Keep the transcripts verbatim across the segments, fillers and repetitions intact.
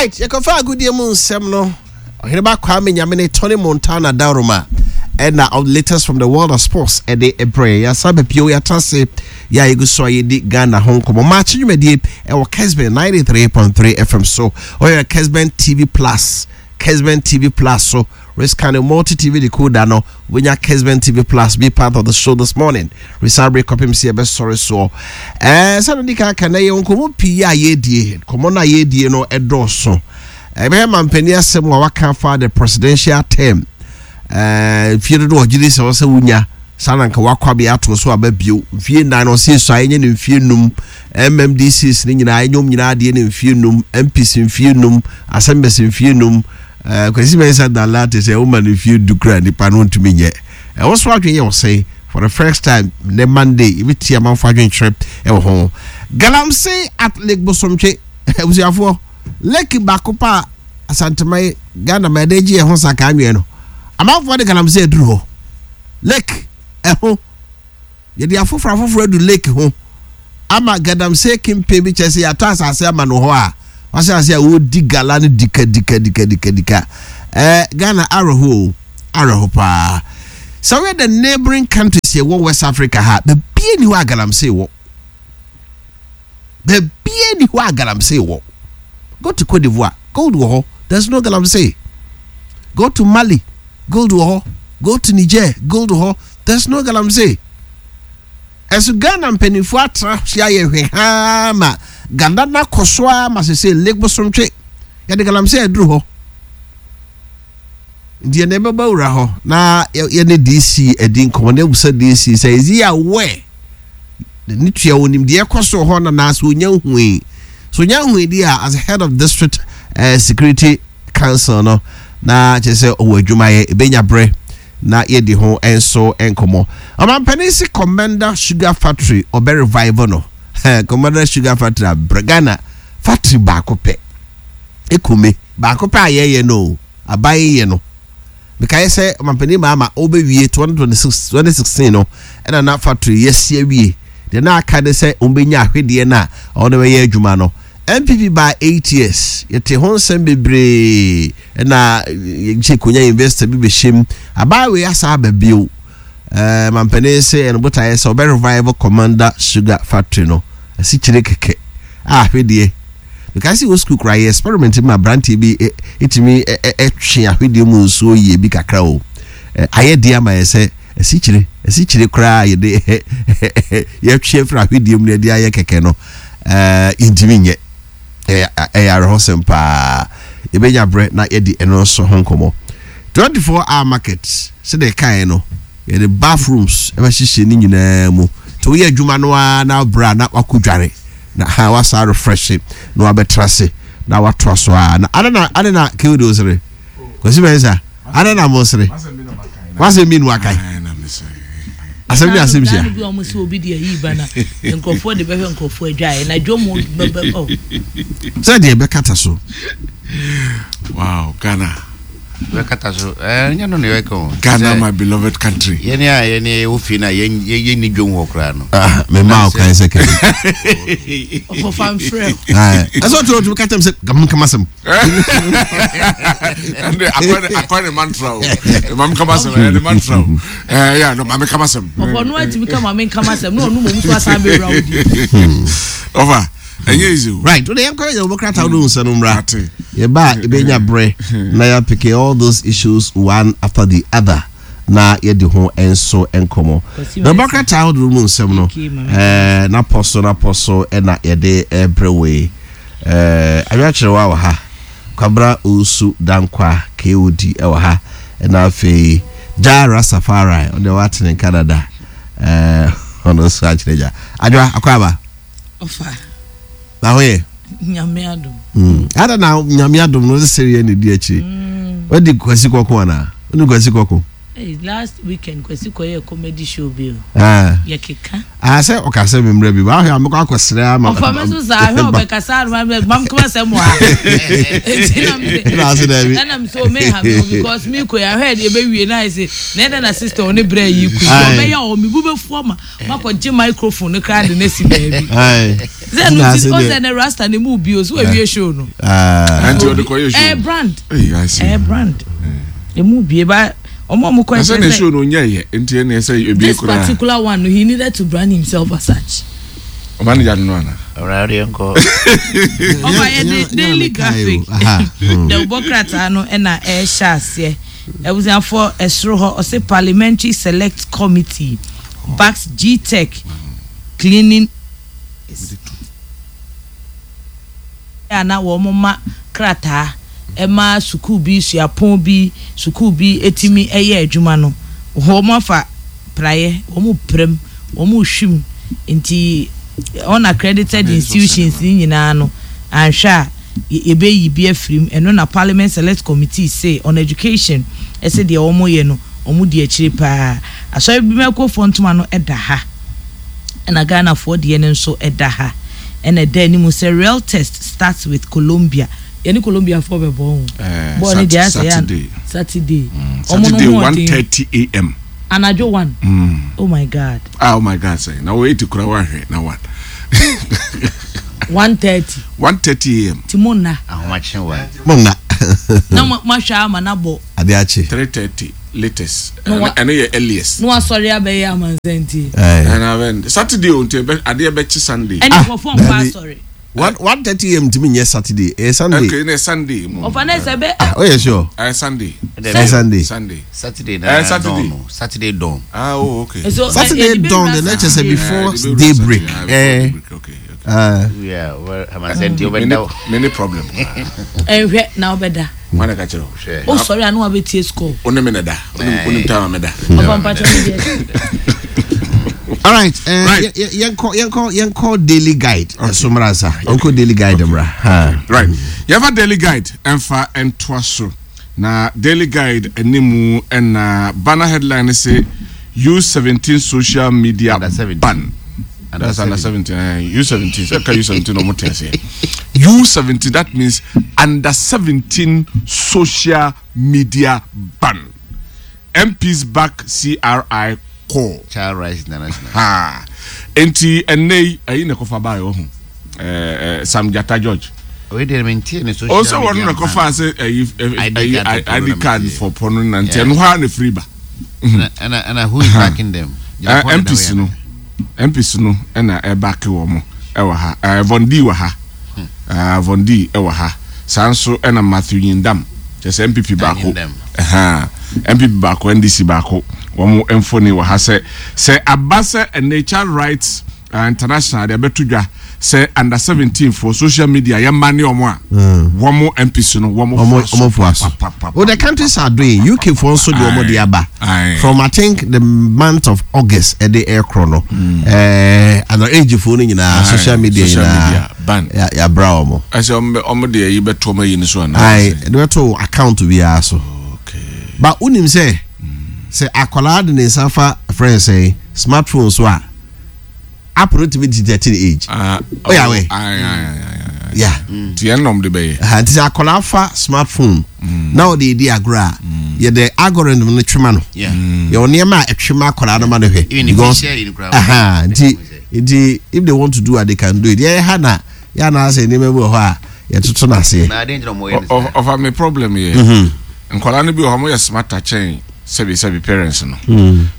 Right, yɛkɔfa agodie mu nsɛm no. Ɔheneba Kwame Nyamene Tony Montana Dauroma ɛna of latest from the world of sports ɛde ɛbrɛ yɛasa bɛpio. Yɛata se yɛ a yɛgu so a yɛdi Ghana ho nkɔmmɔ maakye dwumadie ɛwɔ Kesben ninety-three point three F M so. Ɔyɛ Kesben T V Plus, Kesben T V Plus so rescan multi T V decoder no, wonya Kesben T V Plus. Be part of the show this morning. Resabre kɔpem sɛ yɛbɛsɔre soɔ ɛɛ sɛde di kan ka na yɛ nkɔmmɔ pii a yɛdie. Nkɔmmɔ no a yɛdie no ɛdɔɔso. Ɛbɛyɛ mampanin asɛm a waka fa the presidential term, ɛɛ mfie dodo ɔgye di sɛ ɔsɛ wonya saa na nka wakɔ abɛyɛ ato so aba bio mfie nnan na ɔsɛ esu a ɛnyɛ ne mfie num, M M D Cs ne nyinaa ɛnyɛ wɔn nyinaa adeɛ ne mfie num, M Ps mfie num, assemblies mfie num. ɛɛ Kwasi Mɛnsa Dala te sɛ ɔma ne mfie du kura nipa no ntumi nyɛ. Ɛwɔ so adwene yɛ ɔsɛn for the first time ne Monday ebi ti amanfo adwene ɛwɔ ho. Galamsey at Lake Bosomtwe. Abusuafoɔ, lake baako pa a Asanteman Ghana ma yɛde gye yɛn ho saka anwea no, amanfoɔ de galamsey aduru hɔ. Lake ɛho yɛde afoforɔ afoforɔ adu lake ho ama galamsey kempe bi kyerɛ sɛ yɛatɔ asase ama no hɔ a wahyɛ ase a wɔredi gala no dika dika dika dika dika. ɛɛ ghana awerɛho o, awerɛho paa. Sɛ woyɛ the neighbouring countries yɛwɔ West Africa ha, baabie ni hɔ a galamsey wɔ. Baabie ni hɔ a galamsey wɔ. Go to Cote d'Ivoire, gold wɔ hɔ, there's no galamsey. Go to Mali, gold wɔ hɔ. Go to Niger, gold wɔ hɔ, there's no galamsey. Ɛso Ghana mpanimfoɔ atena se ayɛ hwɛ haa ma ganda na kɔ so a ma sese Lake Bosomtwe yɛde galamsey aduru hɔ. Nti yɛn ɛbɛba wura hɔ na yɛne D C adi nkɔmɔ na ebusa D C sɛ is he aware ne tua onim deɛ ɛkɔ so hɔ na naasɛ onya hui so onya hui di a, as head of district uh, security council no, na kyerɛ sɛ ɔwɔ adwumayɛ ebenya berɛ na yɛdi ho nso nkɔmɔ. Ɔmampanin si Komenda Sugar Factory ɔbɛ revive no. Komenda Sugar Factory abrɛ Ghana factory baako pɛ ekome baako pɛ a yɛyɛ no aban yɛ no. Mekae sɛ ɔmampanin Mahama ɔbɛwie twenty twenty-six twenty sixteen no, ɛna na factory yɛsi awie deɛ na aka ne sɛ ɔmbɛnya ahwedeɛ no a ɔno bɛyɛ adwuma no. N P P by eight years yɛte ho nsɛm bebree ɛna yɛkyɛ konya investor bi bɛhyɛ mu. Abaawe asa aba bio. ɛɛ mampanin sɛ ɛno botaeɛ sɛ ɔbɛ revive Komenda Sugar Factory no. Asikyire kɛkɛ a ahwedeɛ because sɛ wɔ sukuu koraa yɛ experiment mu, aberanteɛ bi ɛtumi ɛtwe ahwedeɛ mu nsuo yie bi kakra o. Ayɛ deɛ ama yɛ sɛ asikyire asikyire koraa yɛde yɛtwe afiri ahwedeɛ mu na yɛde ayɛ kɛkɛ no, ɛɛ ntumi nyɛ. ɛyɛ ɛyɛ awerɛhɔsɛm paa. Yɛbɛnya berɛ na yɛde ɛno nso ho nkɔmmɔ. twenty-four hour market, sɛdeɛ ɛkaeɛ no, yɛde bathrooms ɛbɛhyehyɛ ne nyinaa mu nti woyɛ adwuma no ara na abrɛ a na wakɔ dware na ha wasa refresh na wabɛtra ase na watoa so a na ade na ade na kewde osere Kwasi Mɛnsa ade na mo sere wasɛm mi nu akae asɛm bi asɛm hyia. Bi a wɔn sɛ obi de ayi ba na nkurɔfoɔ de bɛhwɛ nkurɔfoɔ adwaeɛ na dwom bɛbɛ ɔ. Sɛ deɛ ɛbɛkata so. Wow, Ghana. Bɛkata so, ɛɛ nyɛ no na yɛka o. Ghana, my beloved country. Yɛne a yɛne yɛwɔ fie no a yɛn yɛn ni dwom hɔ koraa no. Mema wo kwan sɛ kɛ ɔkɔfa mfrɛ. Ɛsɛ ɔtɔ ɔtumi ka kyɛm sɛ nkama sɛm. Ɛnde akɔ ne mantra o, maame kama sɛm, ɛyɛ ne mantra o, ɛɛ yɛ no maame kama sɛm. Ɔfɔ no atumi ka maame nkama sɛm na ɔno mom so asan bɛwura wo di. Ɔfa ɛnyɛ easy o. Right, wode yɛnkɔ yɛ wɔbɛkrata wode wo nsa no mmra. Ate. Yɛba a yɛbɛnya berɛ na yɛapick all those issues one after the other na yɛde ho nso nkɔmmɔ. Na wɔbɛkrata ahodoɔ mu nsɛm no ɛɛ napɔ so napɔ so ɛna yɛde ɛbrɛ wei. ɛɛ awiakyerɛwa wɔ ha, Kwabra Owusu Dankwa K O D ɛwɔ ha, ɛna afei Jah Rastafari ɔde watene Canada, ɛɛ ɔno nso akyerɛ gya adwa akɔ aba. Ɔfa. Na ho yɛ. Nyame adom. Mm. Ada na Nyame adom no sɛ yɛ ne di akyiri. Wadi Kwasi kɔko anaa? Wodi Kwasi kɔko? Hey, last weekend Kwesi kɔyɛ comedy show bi o. Ah. Yɛkeka. Ah, sɛ ɔka sɛ memmerɛ bi waahwɛ a mekɔ akɔsrɛ ama. Ɔfa me so saa ahwɛ ɔbɛkasa anoma bɛ mam kama sɛ mo ha. Eti na mi Ɛna ase daabi. Ɛna mi sɛ o me ha mi o because mi kɔ yɛ ahwɛ deɛ ɛbɛwie na ayɛ sɛ na ɛda na sister ɔne brɛ yi ku. Aye. Ɔbɛyɛ ɔ mi bu bɛ fu ama makɔ gye microphone no kra de ne si baabi. Aye. Sɛ Ɛna no ase ti deɛ- ɔsɛ ne rasta ne mu bi o so ewie show no. Ah. Ɛnti ɔde kɔyɛ show. Ɛyɛ brand. Hey, I see. Ɛyɛ brand. Emu bie ba ɔmo a ɔmo kɔ Na sɛ ne ɛkyerɛ show sɛ no onyɛ yɛ nti ɛna ɛsɛ ebi this koraa. particular one no, he needed to brand himself as such. Manager no ana. Ɔra deɛ nkɔ. Ɔba yɛ Ɛnyɛ- de ɛnyɛ na Daily mekae o. Graphic Aha. Hmm. de ɔbɔ krataa no ɛna ɛrehyɛ aseɛ. Abusuafoɔ, ɛsoro hɔ ɔsɛ Parliamentary Select Committee backs G T E C cleaning a na wɔn ma krataa ɛma sukuu bi, suapɔn bi, sukuu bi etimi ɛyɛ adwuma no, wɔn afa praeɛ, wɔn prɛm, wɔn hwim, nti unaccredited institutions ne nyinaa no anhwɛ a yɛbɛyi bi afiri mu. Ɛno na Parliament Select Committee say on Education ɛsɛ deɛ wɔn yɛ no, wɔn di akyire paa. Asɔre bi mɛkofoɔ ntoma no ɛda ha, ɛna Ghanafoɔ deɛ no nso ɛda ha, ɛna ɛda anim sɛ real test starts with Colombia. Yɛne Colombiafoɔ bɛbɔ ho Eh, bɔɔl ne deɛ asɛ yɛ Saturday. Saturday. Ɔmo no Saturday ho one ɔden. thirty a m Anadwo one. Mm. Oh my God. Ah, oh my God, sɛ na wo eight kura wahwɛ na one. One thirty. one thirty a m. Ti mo nna. Ahomakye wa. Mo nna. Na mo mo ahwɛ ama na bɔ. Ade akye. three thirty latest. No, wa- Ɛno yɛ earliest. Na wasɔre abɛyɛ amansantie. Aye. Ɛna bɛn Saturday o, nti ɛbɛ adeɛ bɛkye Sunday. Ɛne nkurɔfoɔ nkɔ Dabi. asɔre. One one thirty a m tumi nyɛ Saturday, ɛyɛ Sunday. Okay, ne Sunday mu. Ɔfa ne sɛ bɛ. Ah, oh yeah, sure. Ɛyɛ Sunday. Ɛyɛ Sunday. Sunday. Saturday Eh, na Saturday. dawn no. Saturday dawn. Ah, oh, okay. So, Saturday eh, yɛde dawn bɛwura the next sɛ Saturday. before Eh, de bɛwura day break. Saturday, ah, before Eh. day break, okay okay. Ah. Yeah, well, amansantie Many wobɛda. many problem. Ɛnhwɛ na wobɛda. Wọn na ka kyerɛ o. Hwɛ. Wosɔre a na wabɛtie score. O ne mi na da. O ne o ne time a mi da. Ɔfa mpakyɛ no deɛ. All right. Eh, Right. yɛ- yɛ- yɛnkɔ yɛnkɔ yɛnkɔ Daily Guide ɛso mmra nsa. Yɛnkɔ Daily Guide mmra. Ha. Right, yɛfa Daily Guide ɛmfa ɛntoa so, na Daily Guide animu ɛna banner headline sɛ U seventeen social media Under seventeen. ban. That's under seventeen. eh, U seventeen sɛ ka U seventeen ɔmo te aseɛ. U seventeen, that means under seventeen social media ban, M Ps back C R I call. Child Rights International. Ha, nti ɛnɛ yi ɛyi na ɛkɔfa baa yɛ ɔho ɛɛ Sam Jata George. Oye deɛ, mentie ne social O sɛ wɔn media na kɔfa sɛ ɛyi I D ɛyi card for I D pɔno card na for pɔno na nti Yeah. ɛno hɔ a na firi ba. Ɛna ɛna ɛna who is backing them? Ɛ M Ps no M Ps no ɛna ɛback wɔn mo ɛwɔ ha. Ɛɛ Von D wɔ ha, ɛɛ Von D ɛwɔ ha saa nso, ɛna Matthew Nyindam, kyerɛ sɛ N P P baako. Nyindam. Ɛhan N P P baako, N D C baako, wɔn mfoni wɔ ha sɛ sɛ aba sɛ ɛnɛ Child Rights uh, International de abɛto dwa sɛ under seventeen for social media yɛ mma ne wɔn a wɔn M Ps no wɔn Ɔmo ɔmo fo aso. papapapa. Oh, the countries are doing. U K foɔ nso de ɔmo de aba. Aye. From, I think, the month of August ɛde ɛkorɔ no. Ɛɛ under age foɔ no nyinaa Aye, social media social nyinaa. media ban. Ya yabra ɔmo. Ɛsɛ ɔmo bɛ ɔmo de ɛyi bɛto ɔmo ayi ne so ana? Ayi, ɛde bɛto account biara so. Okay. But unim sɛ sɛ akwadaa de ne nsa fa friend sɛ smartphone so a, app no tumi detect ne age. Ah, Oh, yeah, wait. Aye, aye, aye, aye, aye. Yeah. Nti yɛn nom de bɛyɛ. Aha, nti sɛ akwadaa fa smartphone na ɔde edi agorɔ a, yɛde algorithm no twema no. Yeah. Yɛwɔ nneɛma a ɛtwema akwadaa no ma no hwɛ. Even if Because- you share it, koraa, aha, nti nti if they want to do it, they can do it. Yɛyɛ ha na yɛ anaasɛ nneɛma bi wɔ hɔ a yɛtoto no aseɛ. Na adeɛ nti na ɔmo yɛ ne Ɔ- saa. ɔfa me problem yɛ nkwadaa no bi wɔ hɔ, ɔmo yɛ smarter kyɛn sɛbi sɛbi parents no,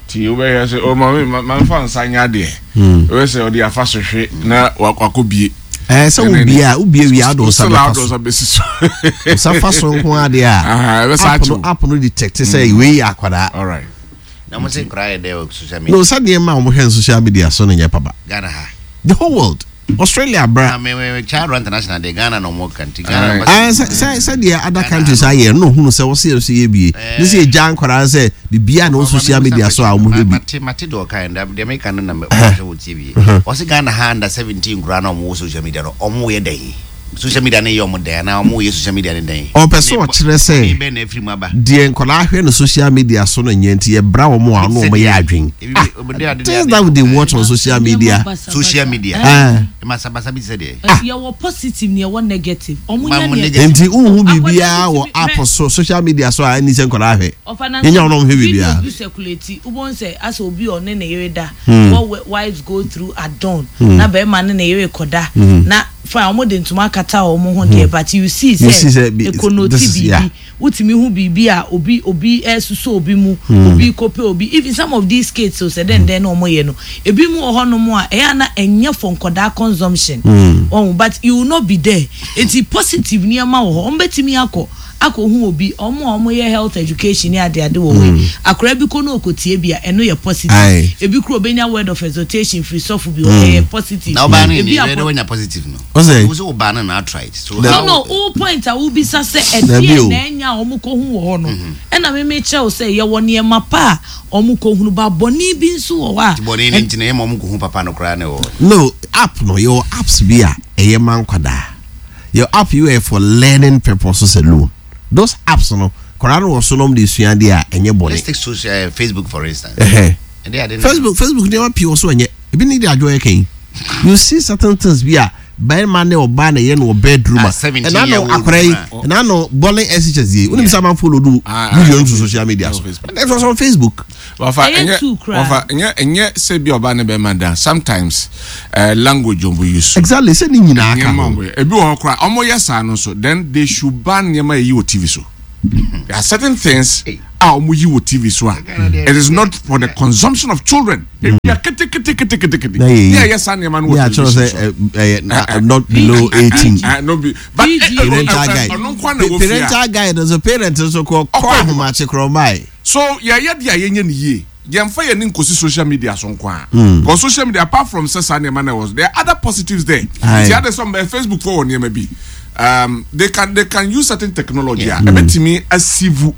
nti wobɛyɛ sɛ o maame ma maame fa nsa nyɛ adeɛ, wobɛ sɛ ɔde afa so hwe na wa- wakɔ bie. Ɛɛ sɛ wobie a, wobie wie a, wode wo nsa Still a bɛfa wode so. wo nsa bɛsi so. Wo nsa fa so nko adeɛ a, Aha, ɛbɛsa app no akyew. app no detect sɛ wei yɛ akwadaa. All right. Na mo sɛ nkwadaa yɛ dɛ wɔ social media. No, sɛ nneɛma a wɔhwɛ no social media so no nyɛ papa. Ghana ha. The whole world, Australia bra. Na me me Child Rights International de Ghana na ɔmo ka nti Ghana. Aye. Ba- Ah, sɛ sɛ sɛdeɛ other countries ayɛ no, ohunu sɛ wɔsi yɛ so yɛ bie ne sɛ yɛgya nkwadaa sɛ biribiara na wɔ social media so a wɔn hwɛ bi. Mate mate de ɔka yɛn deɛ meka no na mɛ ɔsɛ wɔ tie bie. Ɔsɛ Ghana ha under seventeen nkwadaa na ɔmo wɔ social media no, ɔmo yɛ dɛn? Social media ne yɛ ɔmo dɛn anaa ɔmo yɛ social media ne dɛn? Ɔpɛ sɛ ɔkyerɛ sɛ bɛn na efiri mu aba. Deɛ nkɔlaa hwɛ no social media so no nyɛ, nti yɛbra wɔn a ɔno wɔn yɛ adwen. Ebi- ebi- ade- Things that they watch on social media. Social media. Ah. Masabasa bi sɛ deɛ. Yɛwɔ positive ne yɛwɔ negative. Ɔmo Ma nya mo neɛ negative. Nti nhu biribiara wɔ Akwadaa app so, social media so a ɛni sɛ nkɔlaa hwɛ. Ɔfa na Yɛnya wɔn a wɔhwɛ biribiara. Video bi circulate, wobɛhu sɛ asɛ obi a ɔne ne yere da, Hmm. what wives go through at dawn, na bɛrima ne ne yere kɔda na fine, ɔmo de ntoma akata ɔmo ho deɛ, but you see You see sɛ sɛ bi- ekonoti this is- yeah. biribi, wotumi hu biribi a obi obi ɛsoso obi mu, Hmm. obi kope obi. Even some of these kids so sɛ dɛn dɛn na ɔmo yɛ no, ebi mu wɔ hɔnom a ɛyɛ ana ɛnyɛ for nkɔdaa consumption Hmm. ɔmo, but you will not be there. Eti positive nneɛma wɔ hɔ, ɔmo bɛtumi akɔ akɔhu obi, ɔmo a ɔmo yɛ health education ne ade ade wɔ hɔ yi, akɔraa bi kɔ no okotie bi a, ɛno yɛ positive. Aye. Ebi kuro obenya word of exhortation firi sɔfo bi hɔ, ɛyɛ positive. Na ɔbaa no Ebi ni akɔ- ɛdɛ wɔnya positive no. Ɔsɛ? Wo sɛ ɔbaa no na outright. So No, no no wo point a wobisa sɛ Dabi ɛdeɛ o. na ɛnya a ɔmo kɔhu wɔ hɔ no, ɛna meme kyerɛ wo sɛ yɛwɔ nneɛma pa a ɔmo kɔhunu ba, bɔne bi nso wɔ hɔ a bɔne ne nti na yɛ ma ɔmo kɔhu papa no koraa ne wɔ hɔ. No, app no, yɛwɔ apps bi a ɛyɛ ma nkwadaa. Yɛ app yi yɛ for learning purposes alone. Those apps no, nkwadaa no wɔ so nom de sua adeɛ a, ɛnyɛ bɔne. Let's take social uh, Facebook for instance. Ɛhɛ. Ɛde ade no- facebook facebook nneɛma pii wɔ so, ɛnyɛ ebi ne de adwo yɛ kɛn. You see certain things bi a bɛrima ne ɔbaa na ɛyɛ no wɔ bedroom a Ah, seventeen ɛna no year old akwadaa yi man. ɛna no bɔlin S H S yi wonim sɛ amanfo load Ah, ah, video no to social media so. on Facebook. It was on Facebook. Wafa Ɛyɛ ɛnyɛ two koraa. wafa ɛnyɛ ɛnyɛ sɛ bi ɔbaa ne bɛrima da, sometimes uh, language ɔmo use. Exactly, sɛ ne nyinaa ka Nneɛma ho. ɔmo yɛ, ebi wɔ hɔ koraa ɔmo yɛ saa no so, then they should ban nneɛma yɛ yi wɔ T V so. There are certain things a ɔmo yi wɔ T V so a it is not for the consumption of children. Ebi a kete kete kete kete kete Na yɛ yi. ne a yɛ saa nneɛma no ne wɔ akyerɛ television sɛ so. ɛ ɛ not below eighteen. Ah, no be but P G. eh, eh, Parental eh, guide. ɔno nko na wɔ fie a Parental guide nso, parent nso kɔ kɔ Ɔkɔ ahomakye korɔ mbae. So yɛyɛ deɛ a yɛnyɛ ne yie, yɛmfa yɛn ni nkosi social media so nko a, because social media, apart from sɛ saa nneɛma na ɛwɔ so, there are other positives there. Aye. Ti ade sɛ mbɛ Facebook fo wɔ nneɛma bi, um, they can they can use certain technology a ɛbɛtumi asivu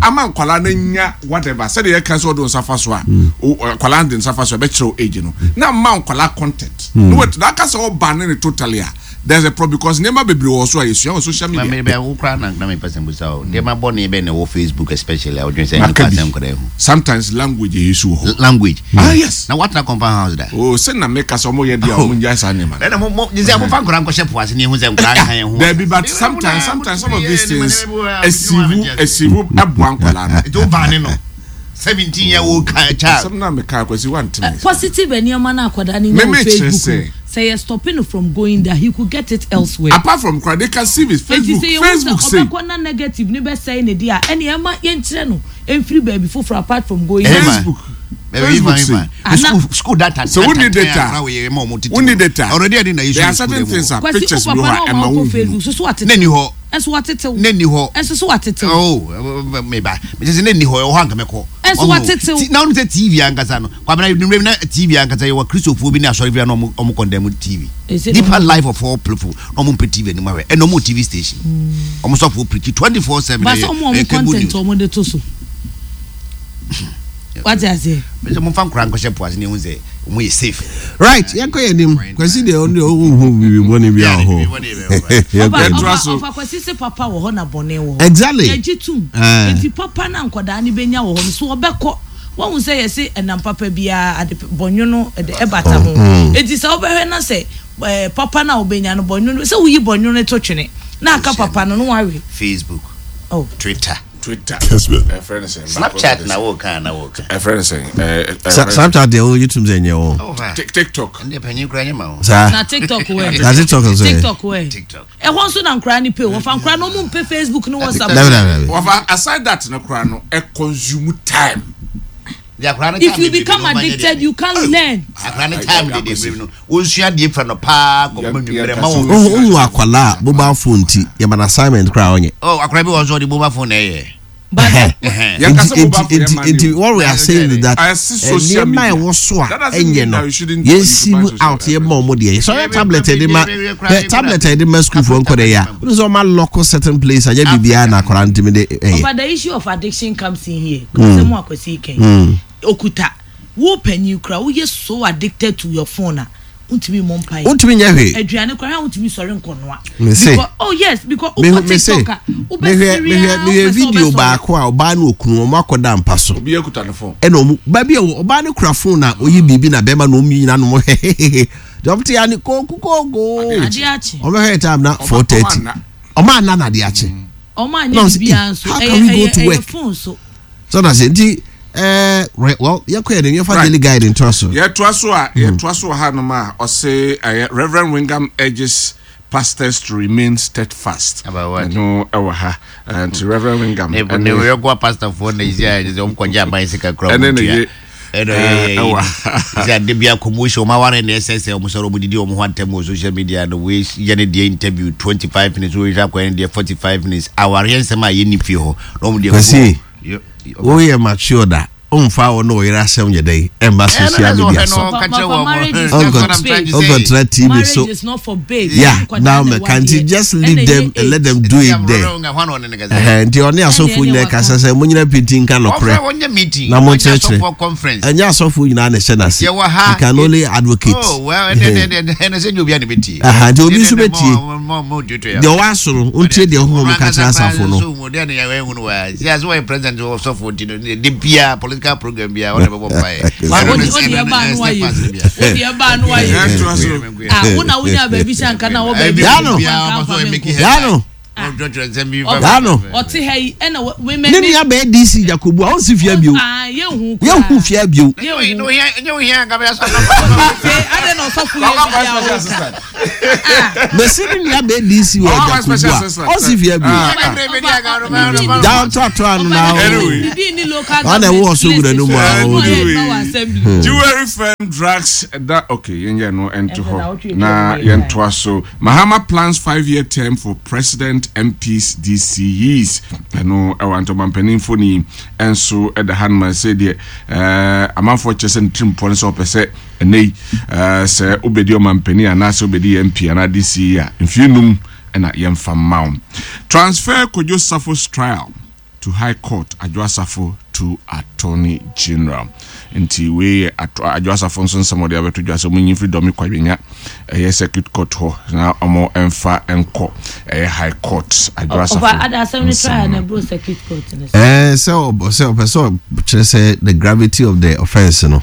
ama nkwalaa no nya whatever, sɛdeɛ yɛka sɛ ɔde nsa fa so a o- ɔ- nkwalaa de nsa fa so a ɛbɛkyerɛ wo age no na ma nkwalaa content no wait na aka sɛ ɔba ne ne totally a, there's a problem because nneɛma bebree wɔ so a yɛsua wɔ social Ma media. me bɛ wo koraa na na me pɛ sɛ mbusa o. Nneɛma bɔne bɛn na ɛwɔ Facebook especially a wodwene sɛ Maka ɛnyɛ bi. asɛm koraa ho? Sometimes language yɛ issue wɔ hɔ. Language. Ah, yes. Na watena compound house da? O sɛ na meka sɛ ɔmo yɛ deɛ a ɔmo ngyae saa nneɛma no. Ɛna mo mo sɛ mofa nkɔraa nkɔhyɛ po ase ne ɛhu sɛ nkɔraa nka yɛn ho. Dabi, but sometimes sometimes some of these things esiwu esiwu ɛboa nkwadaa no. Nti wo baa ne no seventeen year old child. Asɛm na meka, Akwasi, wantene. Positive nneɛma no akwadaa no nya Me- wɔ me kyerɛ Facebook sɛ- no, sɛ yɛ stopping no from going there, he could get it elsewhere. Apart from kora, they can see it Eti Facebook sɛ yɛhu Facebook sɛ say ɔbɛkɔ na negative ne bɛsɛe ne deɛ a, ɛne ɛma yɛnkyerɛ no ɛmfiri baabi foforɔ apart from going there. Facebook Facebook say Ana- School school data. So who need data? Who need data? Already I didn't There are certain things a Kwasi, pictures wo bi papa hɔ a na ɛma ɔma wo wokɔ hu. Facebook so so watete Ne ni hɔ. ɛnso watetew Ne ni hɔ. Ɛnso so watetew. Oh, meba mese sɛ ne ni hɔ, ɛwɔ hɔ anka mɛkɔ. Ɛnso watetew. Ti- na wonim sɛ T V ankasa no, Kwabena, nimmerɛ bi na T V ankasa yɛwɔ Kristofoɔ bi ne asɔre bi a na ɔmo ɔmo condemn T V. Is it Deeper ɔmo- Life of all people na ɔmo mpɛ T V anim ahwɛ, ɛna ɔmo wɔ T V station, ɔmo sɔfoɔ preach twenty four seven. Ba sɛ ɔmo ɔmo content ɔmo de to so, wate aseɛ. Sɛ momfa nkora nkɔhyɛ po ase ne ɛhu sɛ ɔmo yɛ safe. Right, yɛnkɔ yɛ anim. Kwasi deɛ, ɔno deɛ ɔnhu biribi bɔne bi a wɔ hɔ. Ɔfa Yɛnkɔ yɛ anim. Yɛntoa ɔfa so. Ɔfa Kwasi sɛ papa wɔ hɔ na bɔne wɔ hɔ. Exactly. Yɛgye tum. Eh. Nti papa na nkwadaa no bɛnya wɔ hɔ no so, ɔbɛkɔ wɔn sɛ yɛsɛ ɛnam papa biara ade bɔnwono ɛde ɛbata ho. Eti sɛ ɔbɛhwɛ na sɛ ɛɛ papa na ɔbɛnya no bɔnwono sɛ woyi bɔnwono to twene na aka papa no no wawe. Facebook, Oh. Twitter, Twitter, ɛfrɛ no sɛ Snapchat na wɔka na wɔka. Ɛfrɛ no sɛ ɛɛ Sa- snapchat deɛ ɔyɛ tum sɛ nyɛ wɔ. Tik- tiktok Ɛndeɛ panyin koraa nyɛ ma wo. Saa. Na TikTok wɛ? Na TikTok nso yɛ. TikTok wɛ? TikTok. Ɛhɔ nso na nkwadaa ni pe o, wɔfa nkwadaa no ɔmo mpɛ Facebook ne WhatsApp. Dabi, dabi, dabi. Wafa, aside that no koraa no, ɛ consume time. Deɛ akwaraa no If time you de become bebree no, ɔma nyɛ addicted, deɛ. you can't learn. Akwaraa no time de de bebree no, wɔnsua adeɛ fira no paa kɔpem nwummerɛ ma wɔn. Wohu akwalaa a mobile phone ti yɛma no assignment koraa ɔnyɛ. Oh, akwaraa bi wɔ nso ɔde mobile phone na ɛyɛ. But Yɛn kasa nti mobile phone nti yɛ ma nti ne o. what we are saying is that I see social nneɛma a media. ɛwɔ so a That doesn't ɛnyɛ mean no, that you shouldn't- yɛn you should buy sieve social out, yɛ ma ɔmo deɛ sɛ ɔyɛ tablet a yɛde ma ɛ tablet a yɛde ma school foɔ nkɔ dɛ yɛ a wɔn sɛ ɔma lock certain place anyɛ biribiara na akwaraa ntumi de ɛyɛ. But the issue of addiction comes in here. Sɛ mo Akwasi kɛn okuta wo panyin kura, woyɛ so addicted to your phone a Wontumi mmɔ mpaeɛ. Wontumi nyɛ hwee. Aduane koraa wontumi sɔre nkɔnoa. Mese. Because oh yes, because Mehu wokɔ mese TikTok a mehwɛ wobɛsere mehwɛ a mehwɛ wopɛ sɛ video wobɛsɔre. Baako a ɔbaa ne okunu ɔmo akɔda mpa so. Obi akuta ne phone. Ɛna ɔmo baabi a ɔbaa ne kura phone na oyi biribi na bɛrima na ɔmo nyinaa no mo hɛhɛhɛhɛ deɛ ɔmo te ya ne kooku kooku. Adeɛ akye. Ɔmo hwɛ time na four thirty ɔmo anna na adeɛ akye. Ɔmo anyɛ Na ɔmo sɛ, biribiara "Eh, nso how ɛyɛ can we go ɛyɛ to ɛyɛ work?" phone so. So na sɛ nti ɛɛ right, well, yɛn kɔ yɛ de yɛn fa Right. Daily Guide ntoa so. Yɛtoa so a, yɛtoa so wɔ hanom a, ɔse ɛyɛ Reverend Wingham urges pastors to remain steadfast. About what? Ɛno ɛwɔ ha. Eh, nti Reverend Wingham Ne ɛne ne yɛkɔ pastorfoɔ na ɛsi a sɛ ɔmkɔgye aban sika kora ɛne ne ɔmo ye tua. Ɛna ɔyɛ eh, ɛwɔ ha. sɛ ade bia commotion, ɔma ware na ɛsɛ sɛ ɔmo sɔrɔ ɔmo didi ɔmo ho atɛm wɔ social media no, wei yɛ ne deɛ interview twenty five minutes, wei hwɛ akɔyɛ ne deɛ forty five minutes, awareɛ nsɛm a yɛnni fie hɔ na ɔmo deɛ Kwasi, Yɛ- woyɛ mature da ɔmfa wɔ ne ɔyere asɛm yɛ dɛn ɛmba social media so. Marriage is Uncle- not for babes. Uncle Tra T V Marriage so is not for babes. Yeah, Nkwadaa now na me can't ɛwɔ just adeɛ. leave Ɛna them ɛyɛ and let age. them do it there. Ɛhɛn, nti ɔne asɔfoɔ nyinaa kasa sɛ mo nyina penti nka nɔkorɛ na mo nkyerɛkyerɛ. Ɛnyɛ asɔfoɔ nyinaa na ɛhyɛ n'ase. Yɛwɔ ha. You can only advocate. Oh, well, ɛnɛ ɛnɛ ɛnɛ sɛ nyɛ obi a ne bɛtie. Aha, nti obi nso bɛtie. Deɛ ɔwɔ aso no ɔntie deɛ honhom ka kyerɛ asafo no. Deɛ ne yɛwɔ ehunu wa si ase wɔyɛ president ɔsɔfo nti no de bia political program bia ɔna bɛbɔ mpaeɛ. Wa- wode wode ɛbaa no wayɛ wode ɛbaa no wayɛ. Yɛtoa so. Ah, wo na wonya baabi hyɛ anka na wɔ baabi. Yano. Yano. Yano. Ɔte ha yi ɛna wɔ- women Ne nua bɛyɛ D C Jacobu a ɔnsi fia bio. Ah, yɛnhu yɛnhu fia bio. Afei adɛn na ɔsɔfo yɛ Ɔba bi a special wɔka assistant. Mɛsi ne nua bɛyɛ D C wɔ Ɔba Jacobu special a assistant. ɔnsi fia bio. Ah. Down toatoa no na Anyway. Didi ni local Ɔna ɛwɔ ɔsɔ wura no mu a government ɔdi. list so, ɔyɛ assembly. Jewelry firm drugs that okay, yɛnyɛ no ɛnto Ɛnto na hɔ wotwe na twɛ yɛntoa so. Mahama plans five year term for president, M Ps, D C Es. Ɛno ɛwɔ ntɔma mpanimfo ni ɛnso ɛda ha nom sɛ deɛ ɛɛ amanfoɔ kyerɛ sɛ ne tirim pɔ no sɛ ɔpɛ sɛ ɛnɛ yi ɛɛ sɛ wobɛdi ɔmampanin anaasɛ wobɛdi M P anaa D C E a, mfie num ɛna yɛmfa mma wo. Transfer Kodwo Safo's trial to High Court, Adwo Asafo to Attorney General. Nti wei yɛ ato- Adwo Asafo nso nsɛm a ɔde abɛto dwa sɛ ɔmo nyi mfiri Dome Kwabenya ɛyɛ circuit court hɔ na ɔmo ɛmfa ɛnkɔ ɛyɛ High Court. Adwo Asafo Ɔfa ada asɛm ne nsɛm trial no. na ɛboro circuit court ne so. Ɛɛ, sɛ ɔbɔ sɛ ɔpɛ sɛ ɔkyerɛ sɛ the gravity of the offence no,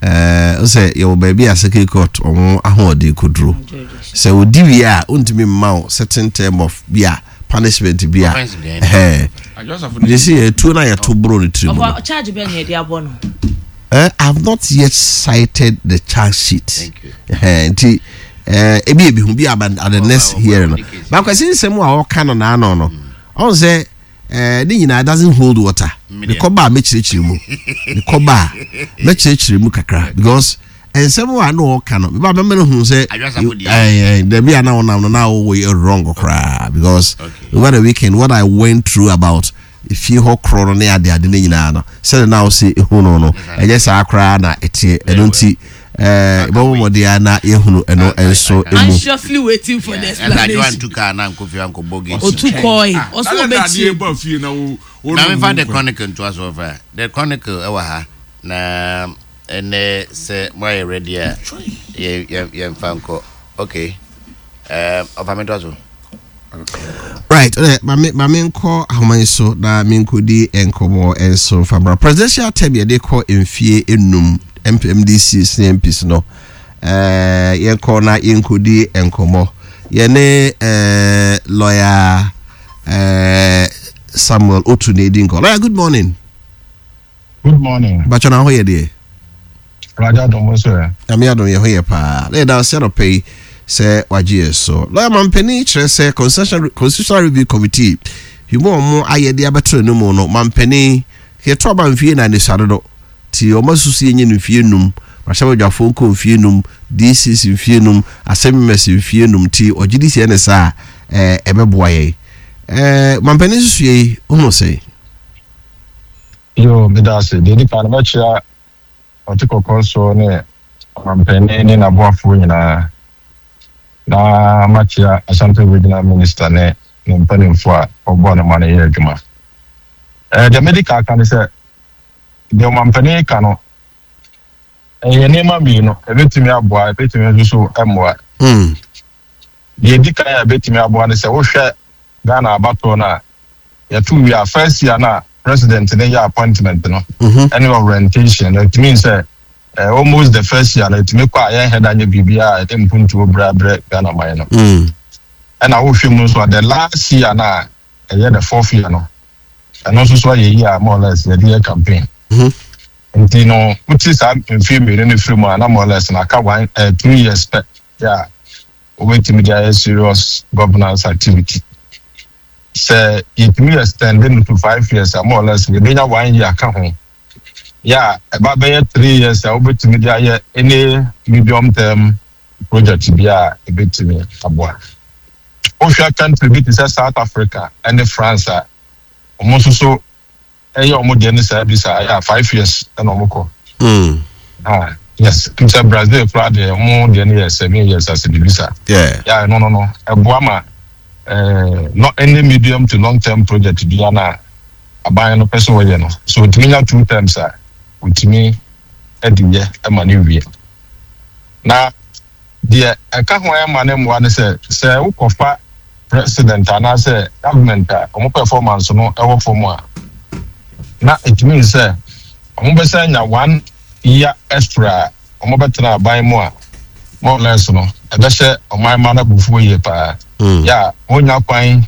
ɛɛ sɛ yɛwɔ baabi a circuit court ɔmo ahoɔden koduro sɛ odi wie a, ontumi mma wo certain term of bi a punishment bi a Offence deɛ. Ɛhɛn. Adwo Asafo ne de sɛ yɛtuo no a yɛto boro ne tiri mu no. Ɔfa charge bɛn na yɛde abɔ no? Eh, I have not yet sighted the charge sheet. Thank you. Eh, nti eh, ebi ebi hu bi aba at the Oh, next oh, hearing no. oh, case. Bakwasi nsɛm a ɔka no n'ano no, ɔn sɛ eh, ne nyinaa doesn't hold water. Me Ne deɛ. kɔba a mɛkyerɛkyerɛ mu. Ne kɔba a mɛkyerɛkyerɛ mu kakra because nsɛm a na ɔka no, bɛba bɛma no hu sɛ Adwo Asafo deɛ. eh, eh, dabi a na ɔnam no na ɔwɔ yɛ wrong koraa because Okay. over the weekend what I went through about efie hɔ korɔ no ne ade ade ne nyinaa no, sɛde na ɔsi ehu no no ɛnyɛ saa koraa na ɛteɛ. Ɛno nti ɛɛ bɛbɔ mmɔden a na yɛhunu ɛno nso emu. Anxiously waiting for the Ɛna Adwo explanation. antu kaa na ankɔ fie ankɔbɔ gate. Otu kɔe Ah, ɔso na na ɔbɛtie. adeɛ ba fie na wo wo Na no mefa mu The kwan. Chronicle ntoa so. Ɔfa The Chronicle ɛwɔ ha na ɛnɛ sɛ moayɛ ready a, yɛ- yɛ- yɛmfa nkɔ. Okay, Um, ɔfa me ntoa so. Right, ɛ maame maame nkɔ ahoma yi so na menkɔdi nkɔmmɔ nso mfamra presidential term yɛde kɔ mfie enum M D C ne M Ps no. ɛɛ yɛnkɔ na yɛnkɔdi nkɔmmɔ yɛne ɛɛ lawyer ɛɛ Samuel Otu na edi nkɔ. Lawyer, good morning. Good morning. Bàtchɔ na ho yɛ deɛ? Raja Domo sir. Nyame adom, yɛ ho yɛ paa na yɛda ase anɔpɛ yi sɛ wagye yɛ so. Lawyer, mampanin kyerɛ sɛ constitutional constitutional review committee himu a ɔmo ayɛ de abɛtoro no mu no, mampanin yɛto aba mfie na anisua dodo ti ɔmo asusu yɛnyɛ no mfie num, mmarahyɛbadwafoɔ nkɔ mfie num, D Cs mfie num, assembly members mfie num, ti ɔgye di sɛ ɛne saa ɛɛ ɛbɛboa yɛn. ɛɛ mampanin susu yɛ yi ohun sɛ Yo, meda ase. Deɛ di kan no, mɛkyia ɔte kɔkɔɔ so ne ɔmampanin ne n'aboafoɔ nyinaa. Na makyia Ashanti Regional Minister ne ne mpanimfoɔ a ɔboa no ma no yɛ adwuma. Ɛɛ deɛ medi kan ka ne sɛ, deɛ ɔmampanin ka no, Ɛyɛ nneɛma mmienu, ebetumi aboa, ebetumi nso so ɛmmoa. Mm. Deɛ edi kan a ebetumi aboa ne sɛ, wohwɛ Ghana abatoɔ no a yɛto wie a, first year na president ne yɛ appointment no Mhm. ɛne orientation no, etumi sɛ eh, almost the first year no, etumi kɔ a yɛn hɛda nyɛ biribiara a yɛde mpuntuo brɛ abrɛ Ghana man no. Mm. Ɛna wohwɛ mu nso a, the last year na ɛyɛ the fourth year no, ɛno nso so ayɛ year a more or less yɛde yɛ campaign. Mhm. Nti no, wote saa mfie mmienu no firi mu a, na more or less na aka one eh, two years pɛ yɛ a wobɛtumi de ayɛ serious governance activity. Sɛ yɛtumi extend no to five years a, more or less yɛbɛnya one year ka ho yɛ a ɛba bɛyɛ three years a wobɛtumi de ayɛ any medium term project bi a ɛbɛtumi aboa. Wohwɛ country bi te sɛ South Africa ɛne France a, ɔmo nso so ɛyɛ ɔmo deɛ ne saa bi saa, ɛyɛ a five years ɛna ɔmo kɔ. Mm. Ah yes, n sɛ Brazil koraa deɛ, ɔmo deɛ no yɛ seven years ase bibi saa. Yeah. Yà, no no no ɛboa ma ɛɛ not any medium to long term project bi na aban no pɛ sɛ wɔyɛ no so, otumi nya two terms a otumi ɛde yɛ ɛma ne wie. Na deɛ ɛka ho ɛma ne mmoa ne sɛ, sɛ wokɔfa president anaasɛ government a ɔmo performance no ɛwɔ fam a, na etumi sɛ ɔmo bɛsɛ nya one year extra a ɔmo bɛtena aban mu a, more or less no, ɛbɛhyɛ ɔman ma no abufuo yie paa. Mm. Yɛ a wonya kwan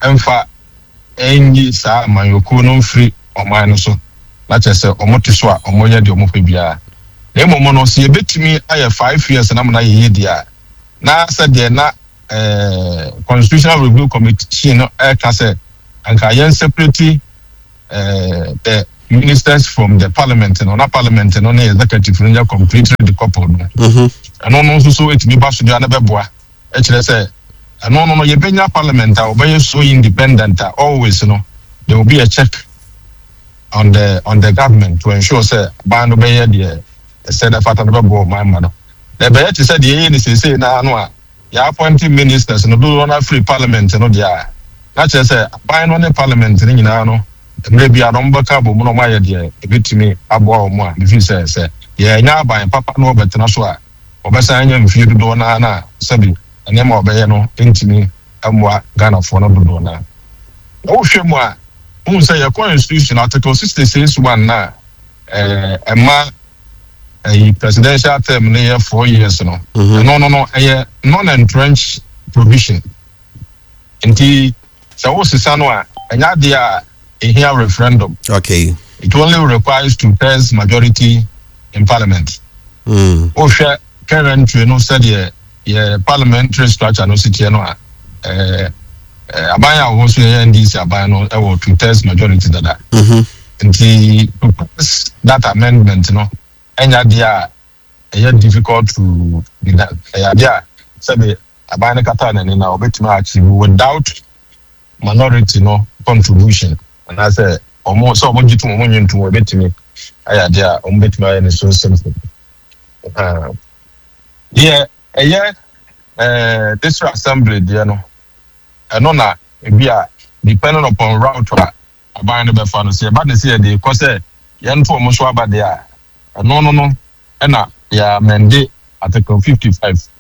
ɛmfa ɛnyi saa amanyɔkuo no mfiri ɔman no so, na kyerɛ sɛ ɔmo te so a, ɔmo yɛ deɛ ɔmo pɛ biara. Na mmom no, sɛ yɛbɛtumi ayɛ five years na mo na yɛyɛ deɛ a, na sɛdeɛ na ɛɛ Constitutional Review Committee no ɛɛka sɛ anka yɛn separate ɛɛ the ministers from the parliament no, na parliament no ne executive no nyɛ completely decoupled no, Mhm. ɛno no nso so etumi ba so deɛ no bɛboa. Ɛkyerɛ sɛ ɛno no no yɛbɛnya parliament a ɔbɛyɛ so independent a, always no there will be a check on the on the government to ensure sɛ ban no bɛyɛ deɛ ɛsɛ dɛ fata no bɛboa ɔman ma no. Na ɛbɛyɛ te sɛ deɛ ɛyɛ ne seesei naa no a yɛ appointing ministers no dodoɔ no afiri parliament no deɛ a, na kyerɛ sɛ aban no ne parliament no nyinaa no, mmerɛ bi a no ɔmbɛka abɔ mu na ɔmo ayɛ deɛ ebɛtumi aboa wɔn a mefi sɛ sɛ yɛnya aban papa na ɔbɛtena so a, ɔbɛsan anya mfie dodoɔ naa na sɛbi nneɛma a ɔbɛyɛ no ntumi mmoa Ghanafoɔ no dodoɔ naa. Na wohwɛ mu a, wohu sɛ yɛ constitution article sixty six one na ɛɛ ɛma ɛyi presidential term no yɛ four years no. Mhm. Ɛno no no ɛyɛ non-entrenched provision, nti sɛ wosesa no a, ɛnyɛ adeɛ a ehia referendum. Okay. It only requires two thirds majority in parliament. Mm. Wohwɛ currently no, sɛdeɛ yɛ parliamentary structure no si teɛ no a, ɛɛ ɛɛ aban a wɔwɔ so yɛ N D C aban no ɛwɔ two thirds majority dada. Mhm. Nti to pass that amendment no, ɛnyɛ adeɛ a ɛyɛ difficult to be done. Ɛyɛ adeɛ a sɛbi aban no kata n'ani na ɔbɛtumi achieve without minority no contribution, anaasɛ ɔmo sɛ ɔmo gye tom, ɔmo nye ntom, ɔbɛtumi ayɛ adeɛ a ɔmo bɛtumi ayɛ no so simple. Ah, deɛ ɛyɛ ɛɛ district assembly deɛ no, ɛno na ebi a depending upon route a aban no bɛfa no, sɛ yɛba ne sɛ yɛde kɔ sɛ yɛnto ɔmo so aba deɛ a, ɛno no no ɛna yɛ amend article fifty five.